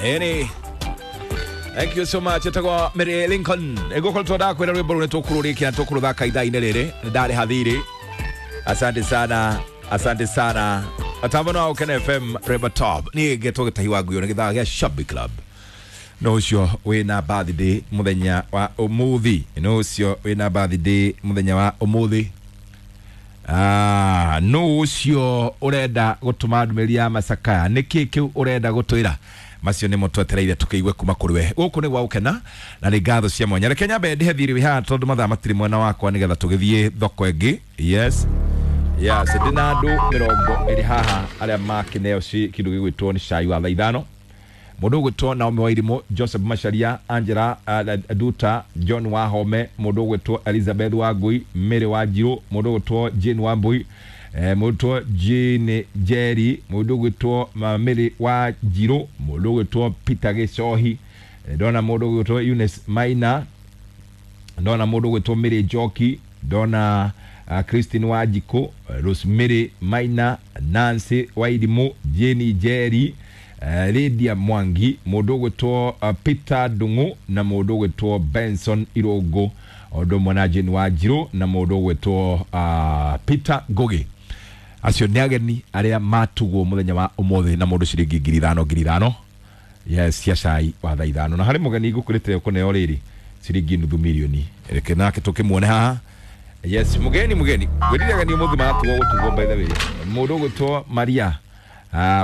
Eni. Thank you so much. Etagwo Mary Lincoln. Ĩgũkorwo ndakwĩra rwĩmbo rũu nĩ tũkũrũrĩkia na tũkũrũthaka ithaa-inĩ rĩrĩ. Nĩ ndarĩha thirĩ. Asante sana. Asante sana. Atambo no Ken FM Reba Top. Niĩ ngetwo Gĩtahi wa Nguyo nĩ gĩthaa gĩa Shabby Club. No ũcio wĩna birthday mũthenya wa ũmũthĩ. No ũcio wĩna birthday mũthenya wa ũmũthĩ. Ah, no ũcio ũrenda gũtũma ndũmĩrĩri ya macakaya nĩ kĩ kĩu ũrenda gũtwĩra macio nĩmo twetereire tũkĩigue kuma kũrĩ we gũkũ nĩ gwa gũkena na nĩ ngatho cia mwanya. Reke nyambe ndĩhe thirĩ wĩ haha tondũ mathaa matirĩ mwena wakwa nĩgetha tũgĩthiĩ thoko ĩngĩ. Yes, yes, ndĩna andũ 20 haha arĩa makĩneo kĩndũ gĩgwĩtwo nĩ cai wa thaa 5. Mũndũ ũgwĩtwo Naomi Wairimu, Joseph Macharia, Angela Duta, John Wahome, mũndũ ũgwĩtwo Elizabeth Wangui, Mary Wanjiru, mũndũ ũgwĩtwo Jane Wambui, mũndũ ũgwĩtwo Jane Jerry, mũndũ ũgwĩtwo Mary Wanjiru, mũndũ ũgwĩtwo Peter Gĩcohi, ndona mũndũ ũgwĩtwo Eunice Maina, ndona mũndũ ũgwĩtwo Mary Njoki, ndona Christine Wanjikũ, Rosemary Maina, Nancy Wairimu, Jane Jerry, Lydia Mwangi, mũndũ ũgwĩtwo Peter Ndung'u na mũndũ ũgwĩtwo Benson Irũngũ, ũndũ ũmwe na Jane Wanjiru na mũndũ ũgwĩtwo Peter Ngugi. Acio nĩ ageni arĩa matugwo mũthenya wa ũmũthĩ na mũndũ ciringi 5,000 5,000. Yes, cia cai wa thaa 5. Na harĩ mũgeni ngũkũrĩte ũkũneo rĩrĩ ciringi nuthu milioni. Reke nake tũkĩmuone haha. Yes, mũgeni ngwĩrire ageni ũmũthĩ maratugwo gũtugwo by the way. Mũndũ ũgwĩtwo Maria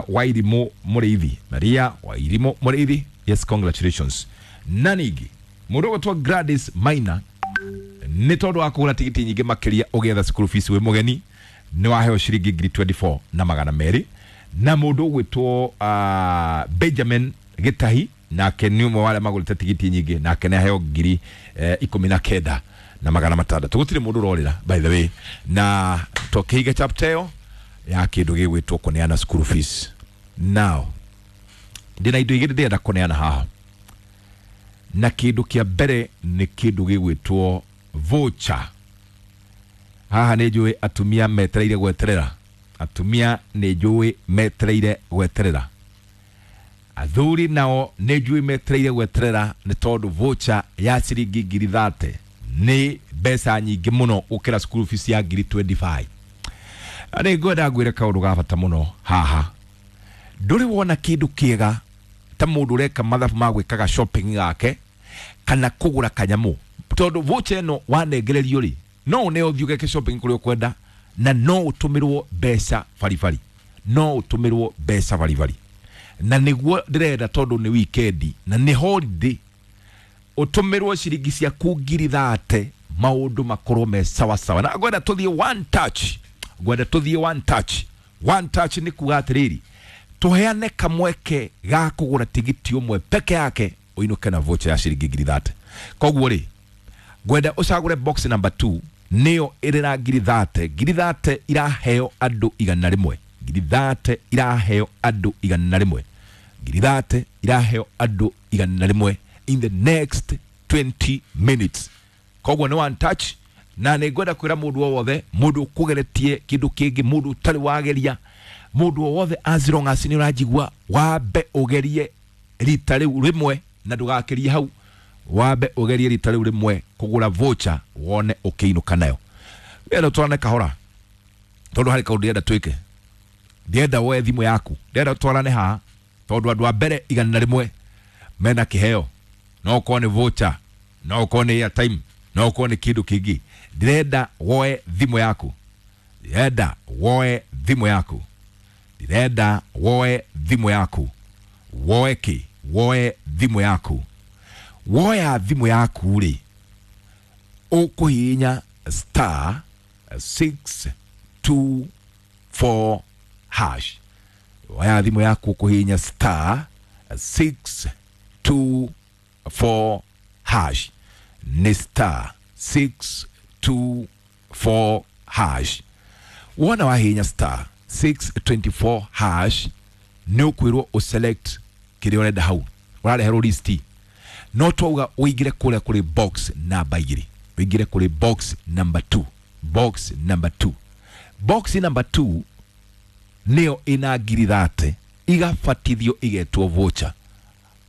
Wairimu Mũrĩithi. Maria Wairimu Mũrĩithi. Yes, congratulations. Na ningĩ mũndũ ũgwĩtwo Gladys Maina nĩ tondũ wa kũgũra tigiti nyingĩ makĩria ũgĩetha school fees wĩ mũgeni nĩ waheo ciringi 24,200. Na mũndũ ũgwĩtwo Benjamin Gĩtahi nake nĩ ũmwe wa arĩa magũrĩte tigiti nyingĩ nake nĩ aheo 19,600. Gũtirĩ mũndũ ũrorĩra by the way, na tũkĩiga chapter ĩyo ya kĩndũ gĩgwĩtwo kũneana school fees. Now ndĩna indo igĩrĩ ndĩrenda kũneana haha, na kĩndũ kĩa mbere nĩ kĩndũ gĩgwĩtwo voucher. Haha nĩ njũĩ atumia metereire gweterera, atumia nĩ njũĩ metereire gweterera, athuri nao nĩ njũĩ metereire gweterera nĩ tondũ voucher ya ciringi 30,000 nĩ mbeca nyingĩ mũno gũkĩra school fees ya 25,000. Nĩ ngwenda ngwĩre kaũndũ ga bata mũno haha. Ndũrĩ wona kĩndũ kĩega ta mũndũ ũreka mathabu ma gwĩkaga shopping gake kana kũgũra kanyamũ, tondũ voucher ĩno wanengererio rĩ no ũneo ũthiĩ ũgeke shopping kũrĩa ũkwenda na no ũtũmĩrwo mbeca baribari, no ũtũmĩrwo mbeca baribari. Na nĩguo ndĩrenda tondũ nĩ weekend na nĩ holiday, ũtũmĩrwo ciringi ciaku 30,000 maũndũ makorwo me sawa sawa. Na ngwenda tũthiĩ one touch, ngwenda tũthiĩ one touch. One touch nĩ kuga atĩrĩrĩ, tũheane kamweke ga kũgũra tigiti ũmwe peke yake ũinũke na voucher ya ciringi 30,000. Koguo rĩ ngwenda ũcagũre box number 2 nĩyo ĩrĩ na 30,000. 30,000 iraheo andũ 100. 30,000 iraheo andũ 100. 30,000 iraheo andũ 100 in the next 20 minutes. Koguo nĩ one touch, na nĩ ngwenda kwĩra mũndũ o wothe, mũndũ ũkũgeretie kĩndũ kĩngĩ, mũndũ ũtarĩ wageria, mũndũ o wothe as long as nĩ ũranjigua, wambe ũgerie rita rĩu rĩmwe na ndũgakĩrie hau. Wambe ũgerie rita rĩu rĩmwe kũgũra voucher wone ũkĩinũka nayo. Ndĩrenda twarane kahora tondũ harĩ kaũndũ ndĩrenda twĩke. Ndĩrenda woe thimũ yaku, ndĩrenda twarane haha tondũ andũ a mbere 100 mena kĩheo, no ũkorwo nĩ voucher, no ũkorwo nĩ airtime, no ũkorwo nĩ kĩndũ kĩngĩ. Ndĩrenda woe thimũ yaku, ndĩrenda woe thimũ yaku, ndĩrenda woe thimũ yaku, woe kĩ, woe thimũ yaku. Woya thimũ yaku rĩ, ũkũhihinya star 624 hash. Woya thimũ yaku ũkũhihinya star 624 hash. Nĩ star 624 hash. Wona wahihinya star 624 hash nĩ ũkwĩrwo ũselect kĩrĩa ũrenda hau, ũrareherwo list. No twauga ũingĩre kũrĩa kũrĩ box number 2, ũingĩre kũrĩ box number 2, box number 2, box number 2 nĩyo ĩna 30,000 igabatithio igetwo voucher.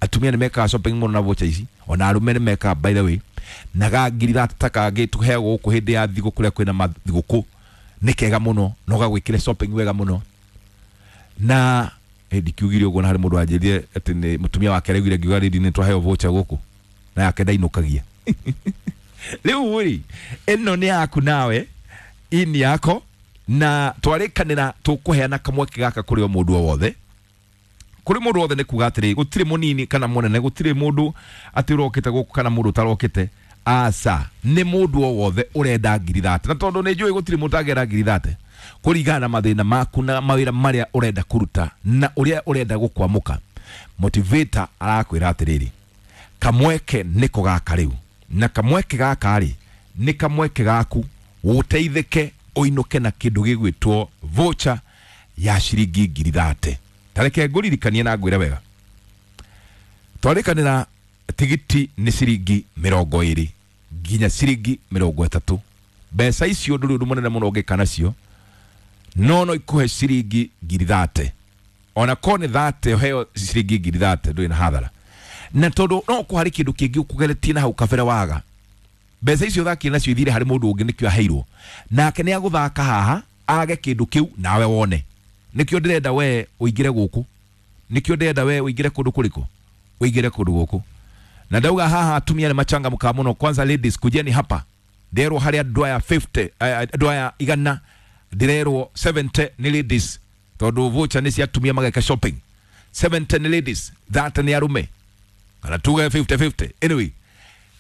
Atumia nĩ mekaga shopping mũno na voucher ici, ona arũme nĩ mekaga, by the way. Na ga ngiri thate ta kangĩ tũheagwo gũkũ hĩndĩ ya thigũkũ, kũrĩa kwĩna mathigũkũ, nĩ kega mũno na ũgagwĩkĩre shopping wega mũno. Na ndikiugire ũguo, na harĩ mũndũ wanjĩrire atĩ nĩ mũtumia wake araugire ngiuga rĩndi nĩ twaheo voucher gũkũ na yake ndainũkagia. Rĩu rĩ, ĩno nĩ yaku nawe, ini yako, na twarĩkanĩra tũkũheana kamweke gaka kũrĩ o mũndũ o wothe, kũrĩ mũndũ wothe. Nĩ kuga atĩrĩ, gũtirĩ mũnini kana mũnene, gũtirĩ mũndũ atĩ ũrokĩte gũkũ kana mũndũ ũtarokĩte, aca, nĩ mũndũ o wothe ũrenda ngiri thate. Na tondũ nĩ njũĩ gũtirĩ mũndũ ũtangĩenda ngiri thate, kũringana na mathĩna maku na mawĩra marĩa ũrenda kũruta na ũrĩa ũrenda gũkwamũka, motivator arakwĩra atĩrĩrĩ, kamweke nĩko gaka rĩu. Na kamweke gaka rĩ, nĩ kamweke gaku ũteithĩke, ũinũke na kĩndũ gĩgwĩtwo voucher ya ciringi ngiri thate. Tareke ngũririkanie na ngwĩre wega, twarĩkanĩra tigiti nĩ ciringi 20 nginya ciringi 30. Mbeca icio ndũrĩ ũndũ mũnene mũno ũngĩka nacio, no ikũhe ciringi ngiri thate. Ona korwo nĩ thate, ũheo ciringi ngiri thate, ndũrĩ na hathara. Na tondũ no kũ harĩ kĩndũ kĩngĩ ũkũgeretie na hau kabere, waga mbeca icio ũthakire nacio ithire harĩ mũndũ ũngĩ, nĩkĩo aheirwo, nake nĩ agũthaka haha age kĩndũ kĩu nawe wone. Nĩkĩo ndĩrenda we ũingĩre gũkũ, nĩkĩo ndĩrenda we ũingĩre kũndũ kũrĩkũ, ũingĩre kũndũ gũkũ. Na ndauga haha atumia nĩ machangamka mũno. Kwanza ladies, kujeni hapa. Nderwo harĩ andũ aya 50, andũ aya 100, ndĩrerwo 70 nĩ ladies, tondũ voucher nĩ cia atumia mageka shopping. 70 nĩ ladies, 30 nĩ arũme, kana tuge 50 50. Anyway,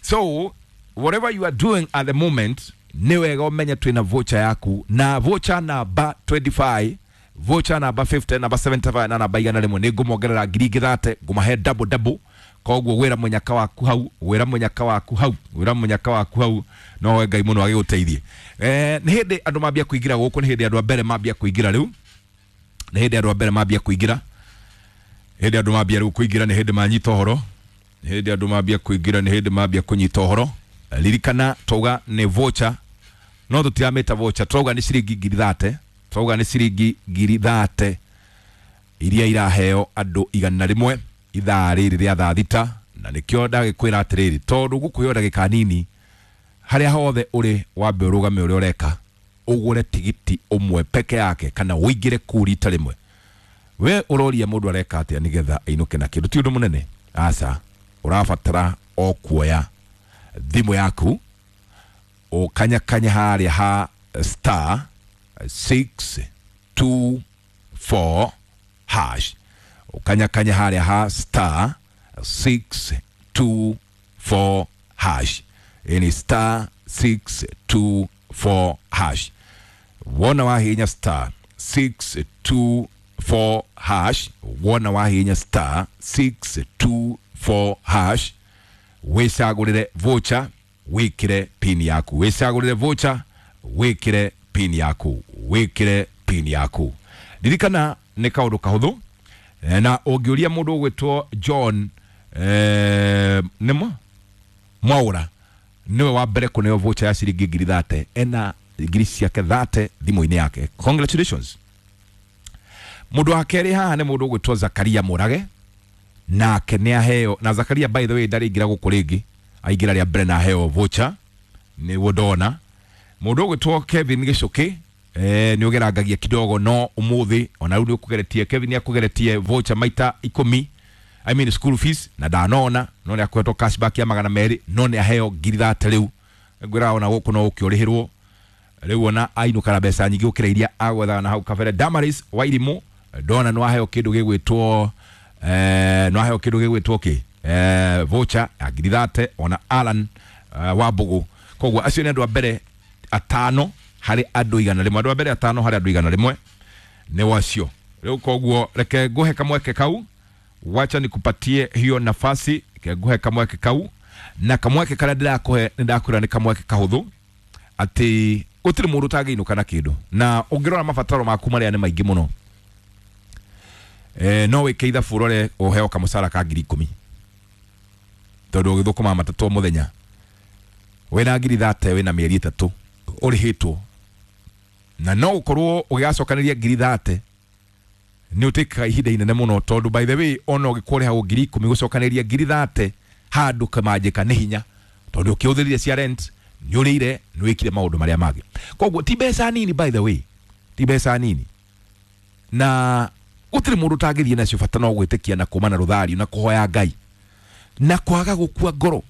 so whatever you are doing at the moment, nĩ wega ũmenye twĩna voucher yaku, na voucher namba 25, voucher namba 50, namba 75 na namba 101. Nĩ ngũmongerera ngiri ingĩ thate, ngũmahe double double. Koguo gwĩra mũnyaka waku hau, gwĩra mũnyaka waku hau, gwĩra mũnyaka waku hau, no we Ngai mũno agĩgũteithie. Nĩ hĩndĩ andũ mambia kũingĩra gũkũ, nĩ hĩndĩ andũ a mbere mambia kũingĩra rĩu, nĩ hĩndĩ andũ a mbere mambia kũingĩra, hĩndĩ andũ mambia rĩu kũingĩra, nĩ hĩndĩ manyita ũhoro, nĩ hĩndĩ andũ mambia kũingĩra, nĩ hĩndĩ mambia kũnyita ũhoro. Ririkana twauga nĩ voucher, no tũtiramĩta voucher, twauga nĩ ciringi ngiri thate, twauga nĩ ciringi ngiri thate iria iraheo andũ 100 ithaa rĩrĩ rĩa thaa 6. Na nĩkĩo ndagĩkwĩra atĩrĩrĩ, tondũ gũkũheo ndagĩka nini, harĩa hothe ũrĩ wambe ũrũgame ũrĩa ũreka, ũgũre tigiti ũmwe peke yake kana ũingĩre kuu rita rĩmwe. We ũroria mũndũ areka atĩa nĩgetha ainũke na kĩndũ? Ti ũndũ mũnene, aca. Ũrabatara o kuoya thimũ yaku, ũkanyakanya harĩa ha star 624 hash, ũkanyakanya harĩa ha star 624 hash. Ĩni star 624 hash. Wona wahihinya star 624 hash, wona wahihinya star 624 hash, wĩcagũrĩre voucher, wĩkĩre pin yaku, wĩcagũrĩre voucher, wĩkĩre pin yaku, wĩkĩre pin yaku. Ririkana nĩ kaũndũ kahũthũ. Na ũngĩũria mũndũ ũgwĩtwo John, nĩmo Mwaũra, nĩwe wa mbere kũneo voucher ya ciringi ngiri thate, ena ngiri ciake thate thimũ-inĩ yake. Congratulations. Mũndũ wa kerĩ haha nĩ mũndũ ũgwĩtwo Zakaria Mũrage, nake nĩ aheo. Na Zakaria, by the way, ndarĩ ingĩra gũkũ rĩngĩ, aingĩra rĩa mbere na aheo voucher, nĩguo ndona. Mũndũ ũgwĩtwo Kevin Gĩcũkĩ, nĩ ũgerangagia kidogo, no ũmũthĩ ona rĩu nĩ ũkũgeretie. Kevin nĩ akũgeretie voucher maita 10, I mean school fees, na ndanona, no nĩ akoretwo cashback ya 200, no nĩ aheo ngiri thate rĩu. Ngwĩra ona gũkũ no ũkĩũrĩhĩrwo rĩu, ona ainũka na mbeca nyingĩ gũkĩra iria agwethaga na hau kabere. Damaris Wairimũ, ndona nĩ waheo kĩndũ gĩgwĩtwo, nĩ waheo kĩndũ gĩgwĩtwo kĩ, voucher ya ngiri thate. Ona Alan Wambugu. Koguo acio nĩ andũ a mbere atano harĩ andũ 100, andũ a mbere atano harĩ andũ 100 nĩ wacio rĩu. Koguo reke nguhe kamweke kau, wacha nikupatie hiyo nafasi, reke nguhe kamweke kau. Na kamweke karĩa ndĩrakũhe, nĩ ndakwĩra nĩ kamweke kahũthũ, atĩ gũtirĩ mũndũ ũtangĩinũka na kĩndũ. Na ũngĩrora mabataro maku marĩa nĩ maingĩ mũno, no wĩke ithabu, ũrore ũheo kamũcara ka ngiri 10, tondũ ũgĩthũkũma matatũ o mũthenya, wĩna ngiri thate, wĩna mĩeri 3 ũrĩhĩtwo, na no ũkorwo ũgĩgacokanĩria ngiri thate. Nĩ ũtĩkaga ihinda inene mũno, tondũ by the way, ona ũgĩkũrĩhagwo 10,000, gũcokanĩria 30,000 handũ kamanjĩka nĩ hinya, tondũ ũkĩhũthĩrire cia rent, nĩ ũrĩire, nĩ wĩkire maũndũ marĩa mangĩ. Koguo ti mbeca nini, by the way, ti mbeca nini, na gũtirĩ mũndũ ũtangĩthiĩ nacio. Bata no gwĩtĩkia na kuma na rũthario na kũhoya Ngai na kwaga gũkua ngoro.